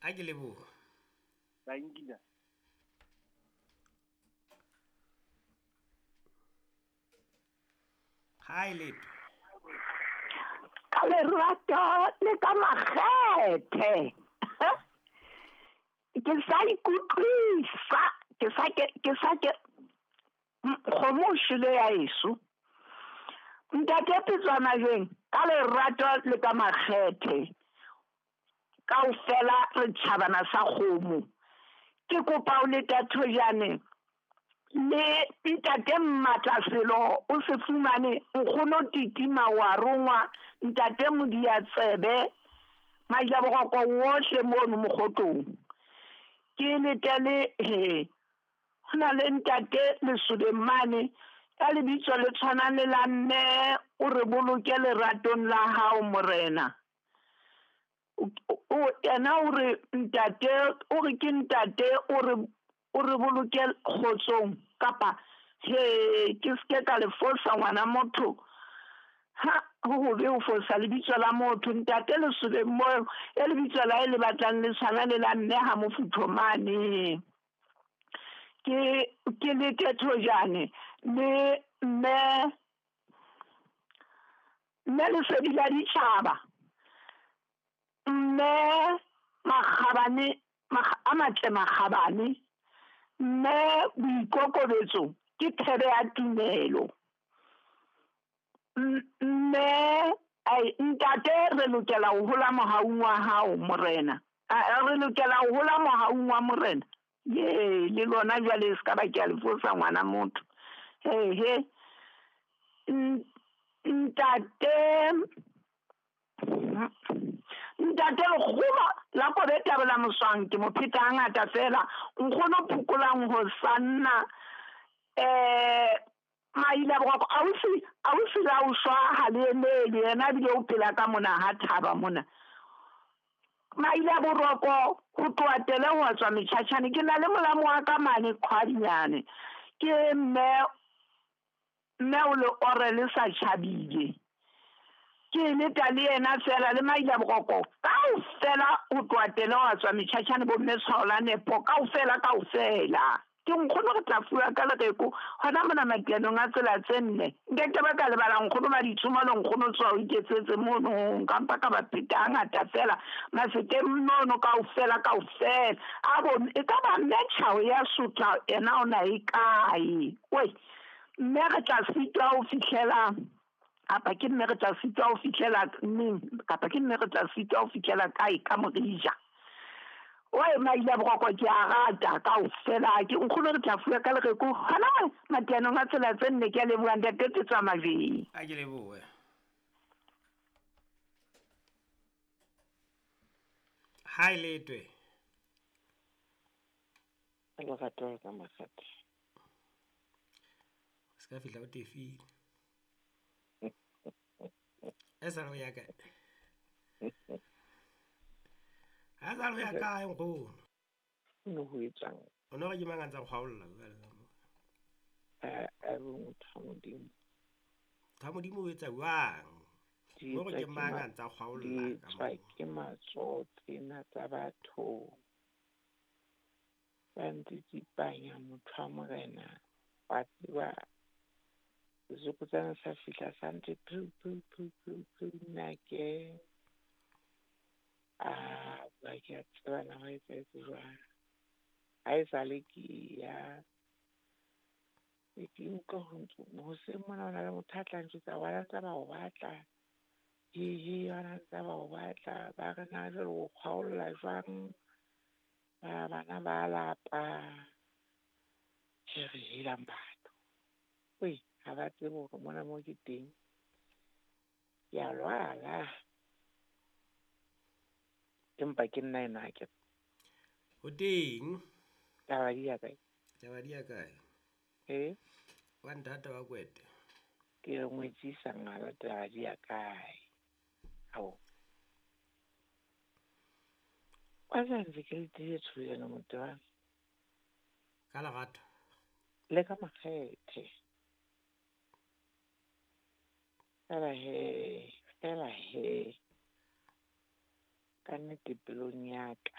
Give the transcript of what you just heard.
A ke leboha. Thank you. Hi Leto. Ka lerato le ka makgethe. Ke sa ikutlwisa, ke sa ke ke sa ke kgomo o shwele ya heso. Ntate Petswana jweng ka lerato le ka makgethe. Kaofela re tjhabana sa kgomo. Ke kopa o leta thojane le ntate Mmatla selo o se fumane nkgono titima wa rongwa ntate Modiatsebe Majaboroko wohle mono mokgotlong. Ke letele he ho na le ntate Lesobeng mane ka lebitso le tshwanang le la mme o re boloke leratong la hao morena. O yena o re ntate o re ke ntate o re o re boloke kgotsong kapa he ke ske ka le fosa ngwana motho. Ha ho hobe ho fosa lebitso la motho ntate Lesobeng mo e lebitso la hae le batlang le tshwana le la mme ha mofutho mane. Ke lete thojane le mme mme lesedi la ditjhaba mme makgabane a matle makgabane mme boikokobetso ke thebe ya tumelo. Mme ai ntate re lokela ho hola mohaung wa hao morena. Re lokela ho hola mohaung wa morena. Ye le lona jwale se ka ba ke a le fosa ngwana motho. He he ntate ntate lekgoba la kobe tabela moswang ke mo pheta hangata fela nkgono phokolang ho sanna maila boroko ausi ausi la o shwa ha le emele yena ebile o phela ka mona ha thaba mona. Maila boroko ho tloha tele ho tswa metjhatjhane ke na le molamo wa ka mane kgwadinyane ke mme mme o le ore le sa tjhabile. Ke leta le yena fela le maila boroko kaofela ho tloha tele ho tswa metjhatjhane bo mme tshwao la nepo kaofela kaofela. Ke nkgono re tla fuwa ka lereko hona mona makenong a tsela tse nne. Nkeke ba ka lebala nkgono ba ditshomo le nkgono tswa o iketsetse mono nka mpa ka ba pheta hangata fela masekeng mono kaofela kaofela. A bo e ka ba mme tjhao ya sotla yena o na e kae? Oi mme re tla sitwa ho fihlela kapa ke mme re tla sitwa ho fihlela neng kapa ke mme re tla sitwa ho fihlela kae ka morija. Oi maila boroko ke a rata kaofela ke nkgono re tla fuwa ka lereko hona makenong a tsela tse nne ke a leboha ntate Petswa Majweng. A ke lebohe. Hi Letwe. Lerato ka makgethe. Se ka fihla o tefile. E sa le ya kae? Ha sa le ya kae nkgono? No ho etsang. O no re ke mang a ntsa go kgaolla jwale ka mo? A re motho wa Modimo. Motho wa Modimo o etsa jwang? Di Mo re etswa ke ke mang a ntsa kgaolla di ka etswa mo? ke matsoho tsena tsa batho. Ba ntsitsipanya motho wa morena. Wa tseba sesokotsana sa fihla sa ntse phu phu phu phu phu nna ke a ba ke a tseba na ho etsahetse jwang. Ha e sale ke ya ke utlwa ho ntso hoseng mona ho na le motho a tla njwetsa wa ntsa ba o batla. He wa ntsa ba o batla ba re na jwale o kgaolla jwang. Ba bana ba lapa. Ke re helang batho. Oi ha ba tsebe hore mona mo ke teng. Ke a lwala. Empa ke nna enwa ke. O teng? Taba di ya kae? Taba di ya kae? Eh? Wa nthata wa kwete. Ke re ngwetsisa ngala taba di ya kae? Ao. Wa sa ntse ke le tee tshoyana motho wa. Ka lerato. Le ka makgethe. Fela he, fela he. Ka nnete pelong ya ka.